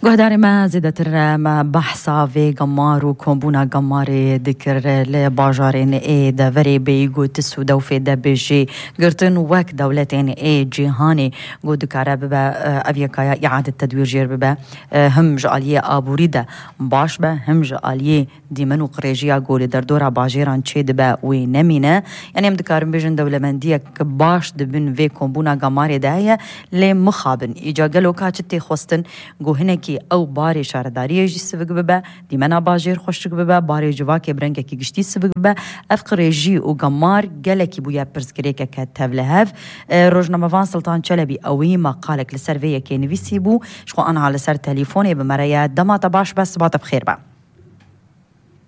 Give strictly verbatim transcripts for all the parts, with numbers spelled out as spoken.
Guhdarê me, zêdetir me behsa vê gemar û kombûna gemarê dikir li bajarên ê deverê Beyîg û Tis û Dewfê de bê jê girtin wek dewletên ê cîhanê ku dikare bibe, e, ev yekaya îade tedwîr jêr bibe, e, him ji aliyê aborî de baş be, him ji aliyê dîmen û qirêjiya ku li derdora bajêran çêdibe wê nemîne. Yanî em dikarin bêjin dewlemendiyek baş di bin vê kombûna gemarê de heye, lê mixabin. Îca gelo ka çi tê xwestin ku hinekî ew barê şaredariyê jî sivik bibe, dîmena bajêr xweşik bibe, barê civakê bi rengekî giştî sivik bibe? Ev qirêjî û gemar gelekî bûye pirsgirêkeke tevlihev. E, rojnamevan Sultan Çelebî ewî maqalek li ser vê yekê nivîsî bû. Ji xwe anha li ser telîfonê bi me re ye. Dema te baş be, siba te bi xêr be.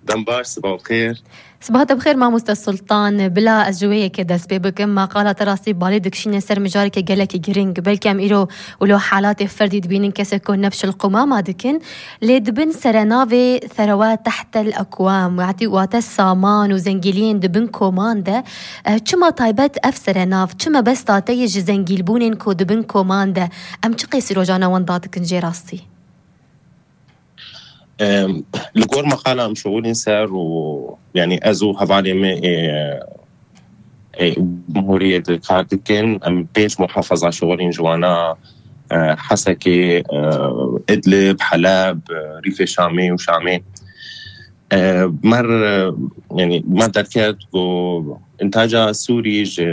Dem baş, siba xêr. Siba te bi xêr, mamoste Sultan. Bila ez ji wê yekê dest pê bikim. Maqala te rastî balê dikişîne ser mijareke gelekî girîng. Belkî em îro wilo halatê ferdî dibînin, kesek ku nebş el qumama dikin. Lê dibin serenavê serewe tehtel ekwam, yatî wate saman û zengîliyên dibin koman de. Eh, çima taybet ev serenav? Çi mebesta te ye ji zengîlbûnên ku dibin koman de? Em çi qêsî rojane wenda dikin jê rastî? Em, li gor maqala em şixulîn ser û, yanî ez û hevalê me ê, ê Cumhuriyê de kar dikin. Em pênc muhafaza şixulîn ji wana, e, Hesekê, e, Idlib, Heleb, e, Rîfê Şamê û Şamê. E, mer, e, yanî me derket ku Întaca Sûrî ji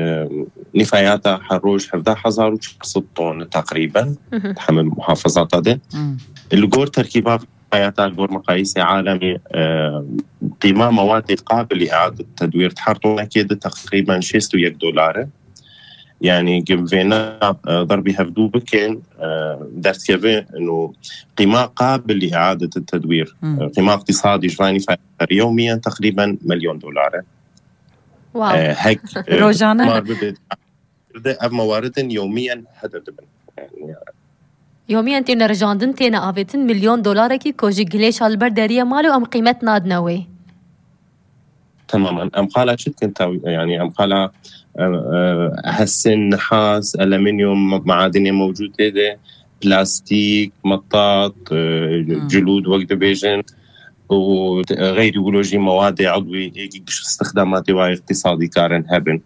nîfayata her roj hevdeh hezar û çar sed ton teqrîben, Mhm. di hemî muhafazata de. Hmm. Li gor terkîba nîfayata, li gor meqayîsê alemî, e, qîma mewadê qabil îade tedwîr di her tonekê de teqrîben şêst û yek dolar e. Yanî gim vêna, e, derbî hevdû bikin, e, derdikeve ino qîma qabil îade tedwîr. Hmm. E, qîma iqtîsadî ji van nîfayata yewmiyen teqrîben milyon dolar e. Wow. E, hek, e, Rojane. Mar bibe, de ev mewaridin yewmiyen hede dibin. Yani, Yomiyên têne rijandin, têne avêtin, milyon dolarekî ku ji gilêşa li ber deriyê malê û em qîmet nadine wê. Temamen. Em qala çi dikin taw-, yani em qala, e, e, hesin, nihas, alüminyum, ma-, maadinê mewcûd tê de, plastîk, metat, e, Hmm. cilûd wek dibêjin û, e, xeyrî wilo jî mewadê edwî ê giş îstixdamatê wa îqtîsadî karin hebin.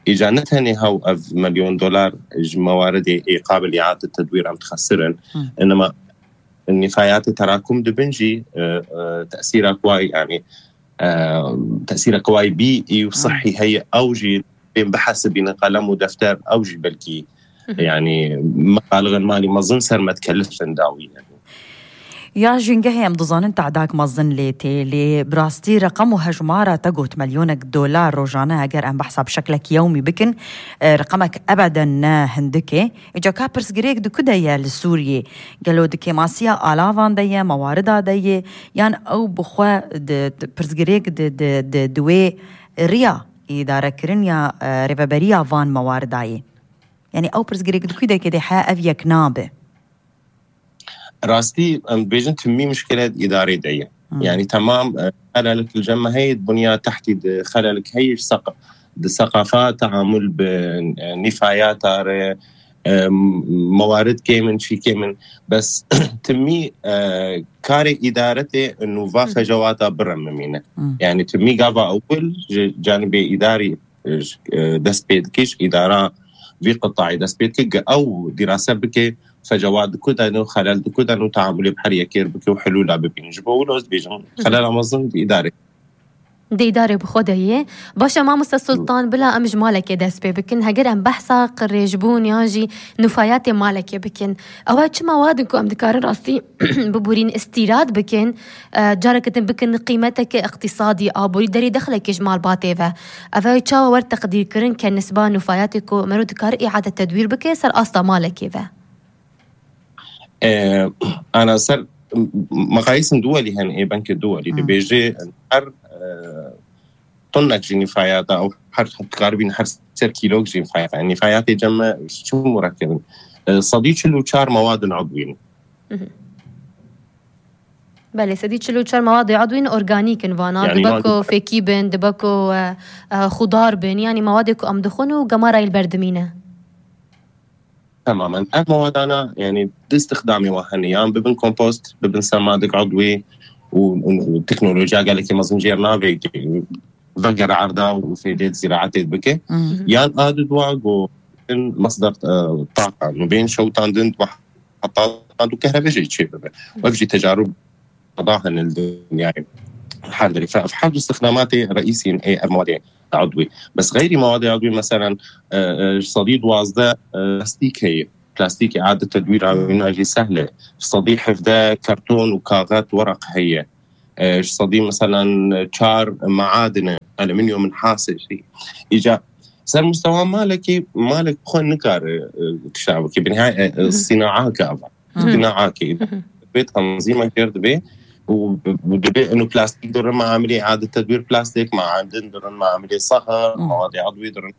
Îca ne tenê hew ev milyon dolar ji mewaridê ê qabil îade tedwîr em dixesirin. Hmm. Inema nîfayatê terakum dibin jî, e, e, tesîra ku wayî, yani, e, tesîra ku wayî bî û Hmm. sihî heye, ew jî bên bihesibînin qelem û defter, ew jî belkî, Mhm. yani, mebalixên malî mezin ser me dikelifin dawî, yani. Ya jîngehê em dizanin te'dak mezin lê tê, lê bi rastî reqem û hejmara te got milyonek dolar rojane, eger em behsa bi şeklek yewmî bikin, e, reqemek ebeden ne hindik e. Îca ka pirsgirêk di ku de ye li Sûriyê? Gelo di kêmasiya alavan de ye, mewarida de ye, yan ew bi xwe di, di pirsgirêk di, di, di, di wê riya îdarekirin ya, e, rêveberiya van mewarida ye? Yani ew pirsgirêk di ku de kê de he ev yek nabe? Rastî, em dibêjin timî mişkile di îdarê de ye. Hmm. Yani temam, e, xelelek li cem me heye, di bunya tehtî de xelelek heye, ji seq-, di seqafa teamul bi, e, nîfayata re, e, mewarid kêm in, çî kêm in. Bes timî, e, karê îdaretê û va Hmm. fecewata bire mimîne. Hmm. Yani timî gava ewil ji canibê îdarî, e, dest pê dike, ji îdara vî qitayê dest pê dike, ge ew dîrase bike, fecewat di ku de ne û xelel di ku de ne û teamulê bi her yekê re bike û helûla bibînin. Ji bo wilo ez dibêjim, Hı hı. xelela mezin di îdarê. Di îdarê bi xwe de ye. Baş e, mamoste Sultan, bila em ji malekê dest pê bikin. Heger em behsa qirêjbûn yan jî nûfayatê malekê bikin, ew çima wadin ku em dikarin rastî bibûrîn îstîrad bikin, e, careke din bikin qîmeteke îqtîsadî, aborî derê dexlekê ji malbatê ve. Ev çawa wer teqdîrkirin ke nisba nûfayatê ku mero dikare îade tedwîr bike ser asta malekê ve? E, ana ser m-, meqayîsên duwelî hene, ê benkê duwelî Hmm. dibêje her, e, tonek jî nîfayata ew her dikaribîn her ser kîlok jî nîfayata. Nîfayatê cem me çi murekebin? E, sedî çil û çar mewadin edwîn. Mhm. Belê, sedî çil û çar mewadê edwîn organîk in vana. Yani Dibe wan ku fêkî bin, dibe ku, e, e, xudar bin, yani mewadê ku em dixwin û gemara yî li ber dimîne. Temamen. Ev mawadana, yani, di îstixdamê wan hene, yan bibin kompost, bibin semadik udwî û, û, û teknolojiya gelekî mezin jêr navê vegere erda û fêdê ziraetê bike. Yan a di dua go in masdar, e, taqa, nû bên şewtandin, heta du kehrebê jî çê bibe. Ev jî tecarûb da hene li dinyayê. Her derê. Fe-, ev her du îstixdamatê reîsî yên ê ev mawadê udwî. Bes xeyrî mawadê udwî, meselen, e, e, ji sedî duwazdeh, e, plastîk heye. Plastîk îade tedwîra wîna jî sehl e. Ji sedî hevdeh karton û kaxet, weraq heye. E, ji sedî, meselen, çar maadin e, alüminyum, nihas e jî. Îca ser mustewa malekî, malek xwe nikare, e, tişta bike. Binha, e, e, sînaak e ava. Sînaak e. Bê tanzîma kir dibe û, û dibe inu plastîk dirin, mamilê îade tedwîr plastîk, maadin dirin, mamilê sehir, mawadê udwî dirin,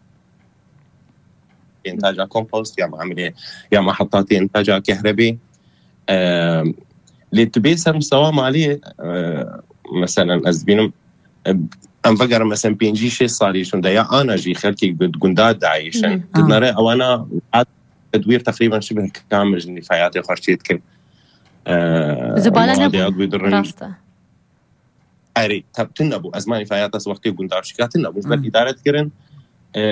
întaca kompost ya mamilê ya mehetatê întaca kehrebê. E, lê tu bê ser mustewa malê, e, meselen, ez dibînim, e, em vegerin, meselen, pêncî şêst salî şûnde ya ana jî xelkê gu-, gunda dayîşin. Dinere ewana ad-, tedwîr teqrîben şibih kamil ji nîfayatê xwe çê dikin. E, Zibale mawadê nebû. Udwî dirin. Rast e. Erê, tab tune bû. Ez manî fayata wextê gundar şika tune bû. Ji ber îdare dikirin. E,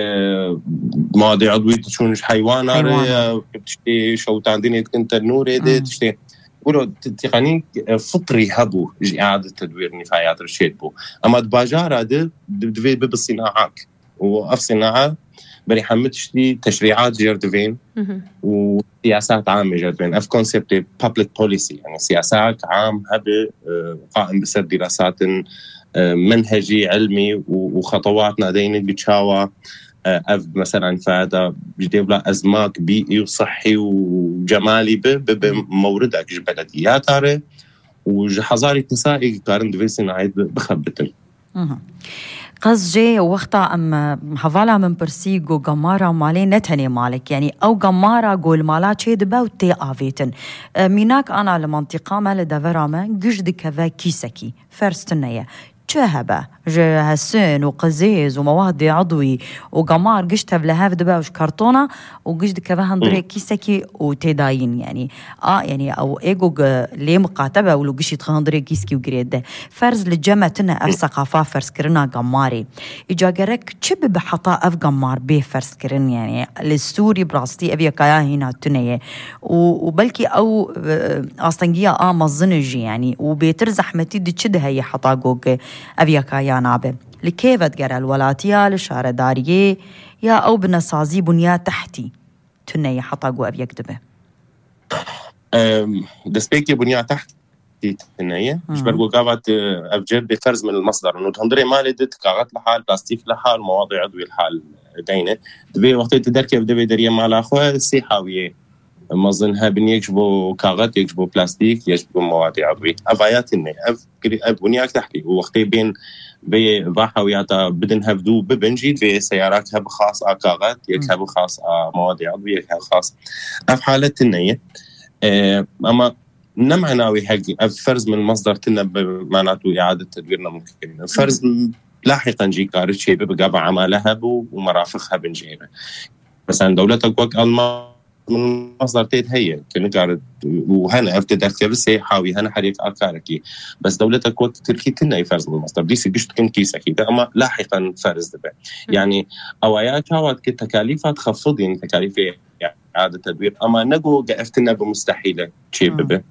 mawadê udwî diçûn ji heywana re, Heywana. E, tiştê şewtandinê dikin tenûrê de, tiştê. Wilo ti-, tîqanî, e, fitrî hebû ji îade tedwîr nîfayat re çêt bû. Ema di bajara de di-, divê bibe sînaak. Û ev sînaa berî hemû tiştî teşrîat jêr divên û siyasat amê jêr divên. Ev konseptê public policy, yani siyasak am hebe, e, qaim bi ser dîrasatin, e, menhecî, ilmî û, û xetewat nadeyne bi çawa, e, ev mesela nîfayata ji dêvla ezmak, bîî û sihî û cemalî bi, bi, bi mewridek ji belediyata re û ji hezarî kesa ê karin divê sînayê bi-, bixebitin. Qas jê wexta em, e, hevala min pirsî, got, gemara malê ne tenê malek, yanî ew gemara go li mala çê dibe û tê avêtin. E, mînak ana li mantîqa me, li devera me giş dikeve kîsekî. Ferz tune ye. Çi hebe? Ji hesin û qizêz û mewadê edwî û gemar giş tevlihev dibe û ji kartona û giş dikeve hundirê kîsekî û tê dayîn, yanî. A, yanî ew ê go ge-, lê miqate be û li gişî dixe hundirê kîskî û girê de. Ferz li cem me tune ev seqafa ferzkirina gemarê. Îca gerek çi bibe heta ev gemar bê ferzkirin, yanî li Sûrî bi rastî ev yekaya hîna tune ye. Û, û belkî ew, e, astengiya a mezin e jî, yanî, û bêtir zehmetî di çi de heye heta go ge-, ev yekaya nabe. Li kê vedigere, li welatiya, li şaredariyê, ya ew binesazî, bunya tehtî tune ye heta go ev yek dibe? Em, destpêkê bunya tehtî tune ye. Ji ber ku gava tu ev cihd bê ferz min li masdar. Û hundirê malê de tu kaxet li hal, plastîk li hal, mewadê edwî li hal deyne. Divê wextê tu derkeve divê deriyê mala xwe sê hawiyê mezin hebin, yek ji bo kaxet, yek ji bo plastîk, yek ji bo mewadê edwî. Ev aya tune. Ev, ev bunyak tehtî. Û wextê bên vê va hawiyata bidin hevdû bibin jî, divê seyarak heb xas a kaxet, yek heb xas a mewadê edwî, yek heb xas. Ev halet tune ye. E, ama ne mana wê hek ev ferz min masdar tune bi mana tu îade tedwîr ne mumkin. Ferz lahiqen jî kari çê bibe gava emale hebû û merafiq hebin jê re. Mesela dewletek wek Alman min masdar tê heye, tu nikare û hene ev tê derkeve sê hawî hene her yek a karekî. Bes dewletek wek Tirkî tune ferz min masdar. Dîsî giş dikin kîsekî de, ama lahiqen ferz dibe. Yani, ewaya çawa dike tekalîfa dixefidîn, tekalîfê îade tedwîr, ama ne go ge ev tune bi mustehîl e çê bibe.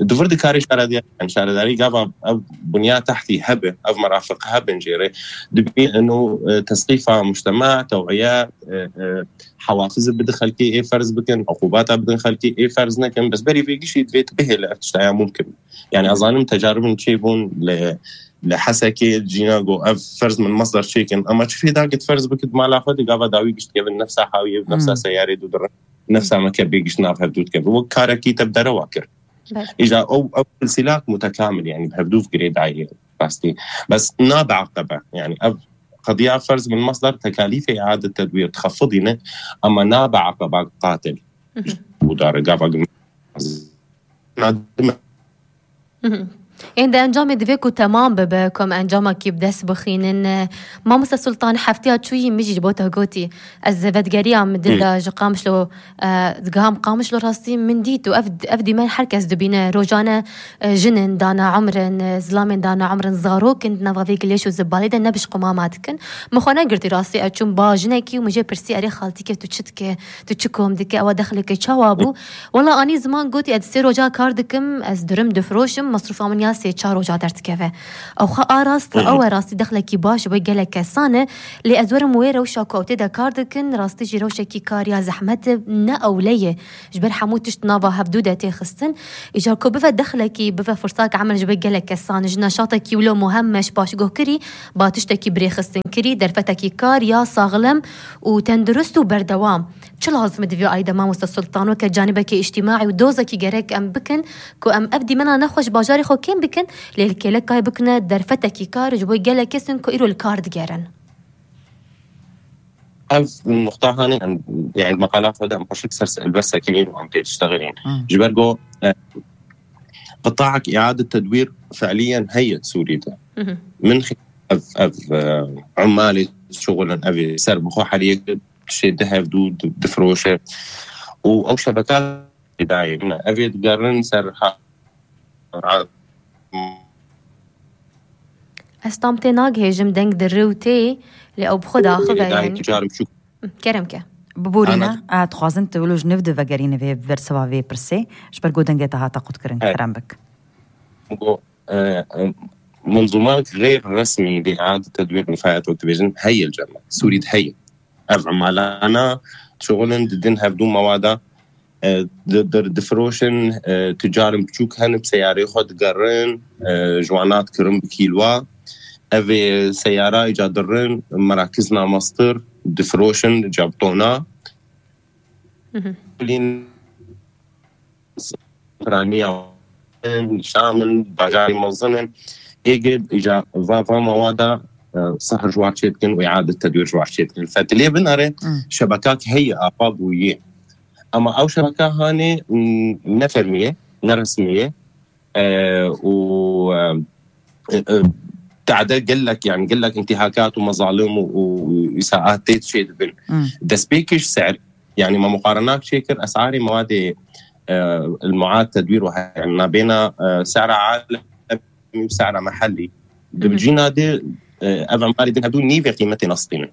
Di vir dikarê şaredarî, yani şaredarî gava ev bunya tehtî hebe, ev merafiq hebin jê re, dibî eno, e, tesqîfa mujtema, tew'iye, e, e, hewafiz bidin xelkê ê ferz bikin, uqubata bidin xelkê ê ferz nekin, bes berî vê gişî divê tu bihêle ev tiştaya mumkin. Yani ez zanim tecaribin çêbûn li, li Hesekê, cîna go ev ferz min masdar çêkin, ama çi fêda git ferz bikit mala xwe di gava dawî gişt kevin nefsa hawiyê, nefsa seyarê du dirin. Nefsa me ke bê giş nav hevdû dike. Wek karekî te bi derewa kir. Îja ew, ew silsîlak mutekamil, yani bi hevdû girê dayê rastî. Bes nabe aqebe. Yani ev qediya ferz min masdar tekalîfê îade tedwîr dixefidîne, ama nabe aqeba qatil. Bu dare gava gim-, nadime. Ên de encamê divê ku temam bibe, ku em encamekî bi dest bixînin. Mamoste Sultan, hefteya çûyî min jî ji bo te gotî, ez vedigeriya min dil de ji Qamişlo, e, digiham Qamişlo rastî min dît û ev, ev dîmen her kes dibîne. Rojane, e, jin in dane umrin, e, zilamên dane umrin, zarok in di nava vê gilêş û zibalê de ne bi ji qumama dikin. Min xwe negirtî rastî, ez çûm ba jinekî û min jê pirsî, "Erê xaltîkê tu çi dike? Tu çi kom dike? Ewa dexleke çawa bû?" Wela anî ziman gotî, "Ez sê roja kar dikim, ez durim difiroşim, mesrûfa min ya sê çar roja derdikeve." Ew xwe a rast, ew e rastî dexlekî baş bo gelek kesan e, lê ez werim wê rewşa ku ew tê de kar dikin, rastî jî rewşekî kar ya zehmet e, ne ewle ye. Ji ber hemû tişt nava hevdû de tê xistin. Îcar ku bive dexlekî, bive firsak emel ji bo gelek kesan, ji neşatekî wilo muhemmeş paşguh kirî, ba tiştekî birêxistinkirî, derfetekî kar ya saxlem û tendurist û berdewam. Çi lazim e di vî ayî de, mamoste Sultan, weke canîbekê îctîmaî û dozekî gerek em bikin ku em ev dîmena nexweş bajarê xwe kêm bikin, lê li kêlekayê bikine derfetekî kar ji bo gelek kesin ku îro li kar digerin. Ev nuqta hanê em, yani, meqala xwe de em xweşik ser helbestekî û em tê diştexilîn. Hmm. Ji ber ku, e, qitaek îade tedwîr fe'liyen heye di Sûrî de. Hı hı. Min xi-, ev, ev, e, ummalê şixulin, ev ê ser bi xwe heriyek tiştê di hevdû di-, difiroşe. Û ew şebeka dayê min e. Ev ê digerin ser ha-, ha-, Ez tam tê nagihêjim, deng di rû tê, lê ew bi xwe diaxive, dayê yani. Ticar biçûk. Hı, kerem ke. Biborîne, Ana- a, dixwazin tu wilo ji nû de vegerîne vê bersiva vê pirsê, ji ber ku dengê te hate qutkirin, Evet. kerem bik. Go, e, e, منظومات غير رسمي لإعادة تدوير النفايات وقت بيجن هي الجمع سوري هي. Ev emalana şixulin didin hevdû mewada, e, di-, di-, difiroşin, e, ticarin biçûk hene bi seyarê xwe digerin, e, ji wana dikirin bi kîlwa. Ev ê seyara îca dirin, merakizna mastir, difiroşin, îca bi tona. Hı hı. Kulîn Piraniya in, Şam in, bajarê mezin in. Êgid îca va, va mewada, e, sihr ji wan çêdikin û îade tedwîr ji wan çêdikin. Fetilê binare, Hmm. şebekak heye, ava bûye. Ama ew şebeka hanê, m, ne fermî ye, ne resmî ye. E, û, e, e, e, te'de gelek, yani gelek intihakat û mezalim û, û, û îsaat tê çêdibin. Hmm. Destpêkiş ser, yani me muqarenak çêkir, esarê mewadê, e, المعاد تدويرها, yani nabêna, e, سعر عالمي û سعر محلي. Hı hı. Di cîna de, e, ev emalê din hevdû nîvê qîmetê nastînin.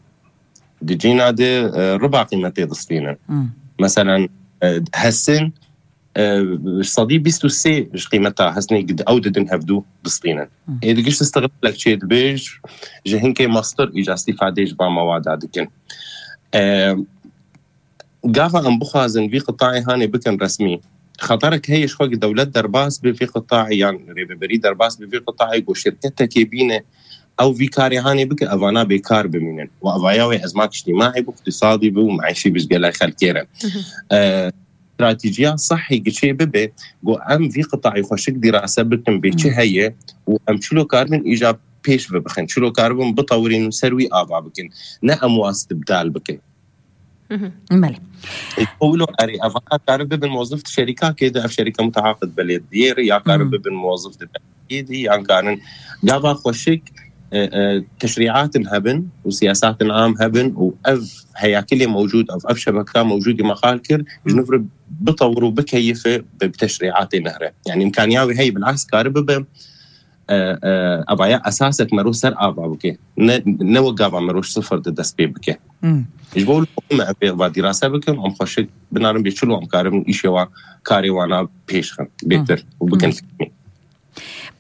Di cîna de, e, riba qîmetê distînin. Hmm. Meselen, e, hesin, e, sedî bîst û sê ji qîmeta hesnê gid-, ew didin hevdû distînin. Hı. Ê digiş istiqlalek çê dibe ji, ji hinkê mastir îca îstîfadê ji van mewada dikin. E, gava em bixwazin vî qitayê hanê bikin resmî, xeterek heye ji xwe ki dewlet derbas bi vî qitayê yan rêveberî derbas bi vî qitayê ku şirketekê bîne ew vî karê hanê bike, evana bêkar bimînin. Û evaya wê ezmak îctîmaî bi, îqtîsadî bi û meîşî bi ji gelek xelkê re. Hı hı. E, stratejiya sehî giçê bibe, ku em vî qitayê xweşik dîrase bikin, bê çi Hı. heye û em çilo karibin îca pêş ve bixin, çilo karibin bitewirîn û ser wî ava bikin. Ne em wan istibdal bikin. Hı hı. Belê. Ê, wilo erê, eva karin bibin mozif di şerîkakê de, ev şerîka mutehaqid belediyê re, ya karin Hı. bibin mozif di belediyê de, yan karin gava xweşik, e, e, teşrîatin hebin û siyasatin am hebin û ev heyakilê mewcûd, ev, ev şebeka mewcûdî me qal kir, Hı. ji nû re bitewir û bikeyife bi, bi teşrîatê nehre. Yani îmkaniya wê heye, bil'aks kari bibe, e, e, evaya esasek mero ser ava bike. Ne, ne wek gava mero ji sifir de dest pê bike. Hmm. Ji bo me ev va dîrase bikin, em xweşik binarin bê çilo em karin îşê wan, karê wana pêş xin, bêtir Hmm. û bikin Hmm. fîrmî.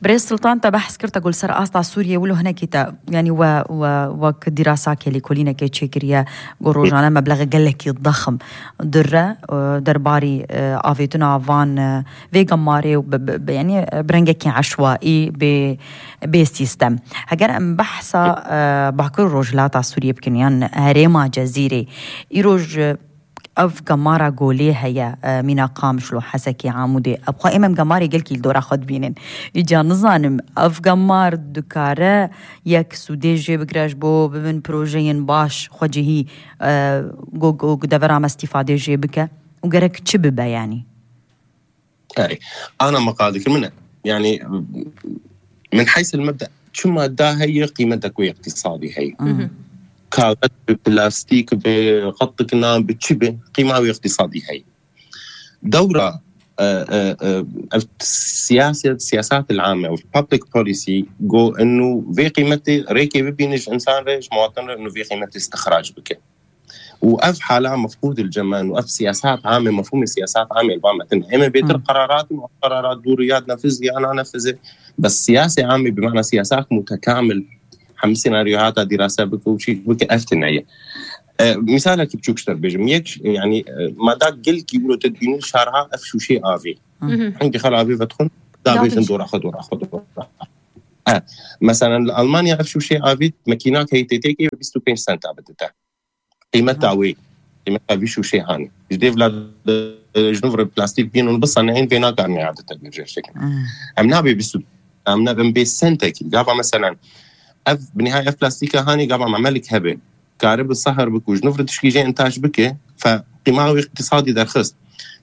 Birêz Sultan, te behs kir, te got li ser asta Sûriyê wilo hinekî te, yanî we, we, wek dîrasakê lêkolînekê çêkiriye, got rojane meblexe gelekî dexm dire, e, derbarî, e, avêtina van, e, vê gemarê û bi, bi, bi, yanî, e, bi rengekî eşwaî, bê, bê sîstem. Heger em behsa, e, Bakur û Rojhilata Sûriyê bikin, yan herêma Cezîrê, îroj, e, ev gemara golê heye, e, mîna Qamişlo, Hesekê, Amûdê. Ev xwe êm em gemarê gelkî li dora xwe dibînin. Îca nizanim, ev gemar dikare yek sûdê jê bigire ji bo bibin projeyên baş, xwecihî, e, go, go, go devera me îstîfadê jê bike û gerek çi bibe, yanî? Erê. Ana me qal dikir min e. Yani, min heysil mebde çima da heye, qîmet de ku îqtîsadî heye. Kaxez bi, plastîk bi, qetikna bi, çi bi, qîma wê îqtîsadî heye. Dewra, e, e, e, ev siyaset, siyaset el ame, ev public policy, go inu vê qîmetê rêkê bibîne ji insan re, ji muwatin re, inu vê qîmetê istixrac bike. û ev hala mefqûd il cemen û ev siyasat ame, mefhûmê siyasat ame li ba me tune. Em ê bêtir Hmm. qerarat û qerarat dûr ya nefizî ya nanefizî. Bes siyasê ame bi mana siyasak mutekamil hemî senaryoya hata dîrase bike û çî bike ev tune ye. E, misalekî biçûk ji te bêjim. Yek, yani, e, mada gelkî wilo te dibînî şarha ev şûşê avê. Hmm. Hingî xal avê vedixwin, davêjin Davêjin. dora xwe, dora xwe, dora xwe. E, meselen li Almanya ev şûşê avê mekînak heyî tê têkê bîst û pênc senta bidite. Qîmeta Aha. wê, qîmeta vî şûşê hanê. Ji dêvla de, ji nû re plastîk bîn û bisaneyên vê nakarin îade te bêje şekin. Hmm. Em nabê bîst û, em nabin bê sentekî. Gava meselen, ev, bi nihayet ev plastîka hanê gava memelik hebe. Kare bi sehir bik û ji nû re tişkî jê intac bike, fe qîma wê îqtîsadî derxist.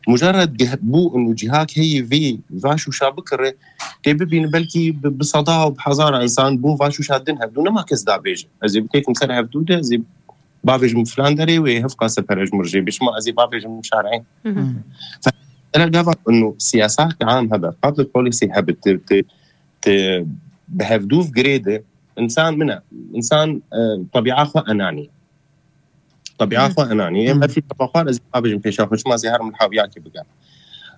Mujarred geh-, bû û cihak heyî vî, va şûşa bikire, tê bibîn belkî bi, bi seda û bi hezara insan bûn va şûşa din hevdû nema kes dabêje. Ez ê bitêkim ser hevdû de, ez ê bavêjim filan derê wê hevqa sepere ji min re jê bê. Şima ez ê bavêjim şarê. Mhm. Hmm. Fe-, era gava inu siyasa ke am hebe, public policy hebe, te, te, te bi hevdûv girê de, insan min e, insan, e, tebîa xwe enanî. Tebîa Mhm. xwe enanî. Em Mhm. her şey tebîa xwe ez ê bavêjim pêşa xwe, şima ez ê herim li hawiyakê bigerim.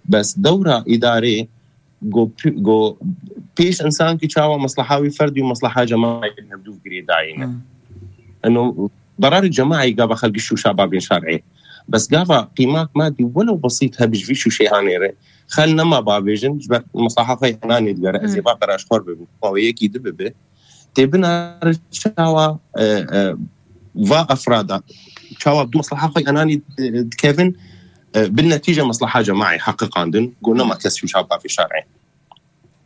Bes dewra îdarê go pi-, go pêş insan ki çawa mesleha wî ferdî û mesleha cemaî hevdûv girêdayî ne. Hmm. Eno, berarê cemaî gava xelkî şûşa babên şer'ê. Bes gava qîmak madî welew besît hebe ji vî şûşê hanê re, xel nema bavêjin, ji ber mesleha xwe enanê digere, ez ê Hmm. va qeraşxwar bibim, xwe yekî di bibe. Tê binare çawa, e, e, va efrada, çawa du mesleha xwe enanî, e, dikevin, e, bin netîce mesleha cemaî heqiqandin, go nema kes şûşa bavê şer'ê.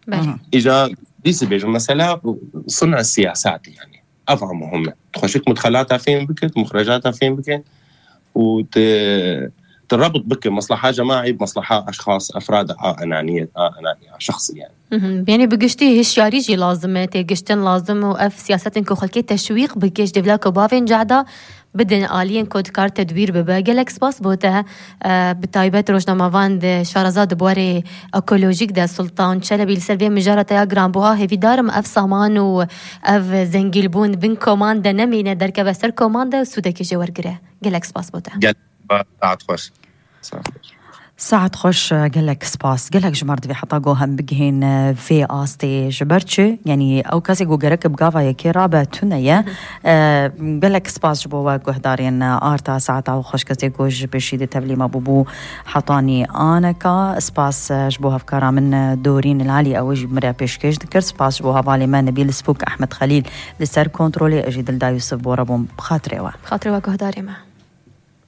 Belê. Aha. Îca dîsî bêjim, mesela suna siyasatî yani. Ev a muhim e. Xweşik mudxelata fêm bike, muxrecata fêm bike û te, te rebit bike mesleha cemaî, mesleha eşxas, efrad a enaniyet, a enaniya şexsî yani. Mhm. Yani bi giştî hişyarî jî lazim e, têgiştin lazim û ev siyasetên ku xelkê teşwîq bike ji dêvla ku bavên cehda bidin aliyên ku dikar tedbîr bibe. Gelek spas bo te, e, bi taybet rojnamevan di şareza di buarê ekolojîk de Sultan Çelebî li ser vê mijara te ya giranbuha hêvîdar im ev saman û ev zengîlbûn bin koman de nemîne, derkeve ser koman de û sûdekê jê wergire. Gelek spas bo te. Gel, saet xweş. Saet xweş. Saet xweş, gelek spas. Gelek ji me re divê heta go hem bigihên, e, vê astê ji ber çi? Yanî ew kesê ku gerek bi gava yekê rabe tune ye. Hı hı. E, gelek spas ji bo we guhdarên, e, arta saeta xweş kesê ku ji pêşî di tevlî me bûbû hetanî aneka. Spas, e, ji bo hevkara min, e, Dorîn Lalî ew jî min re pêşkêş dikir. Spas ji bo hevalê me Nebîl Spûk Ehmed Xelîl li ser kontrolê. Ez jî Dilda Yusuf bo re bûm. Bi xatirê we. Bi xatirê we guhdarê me.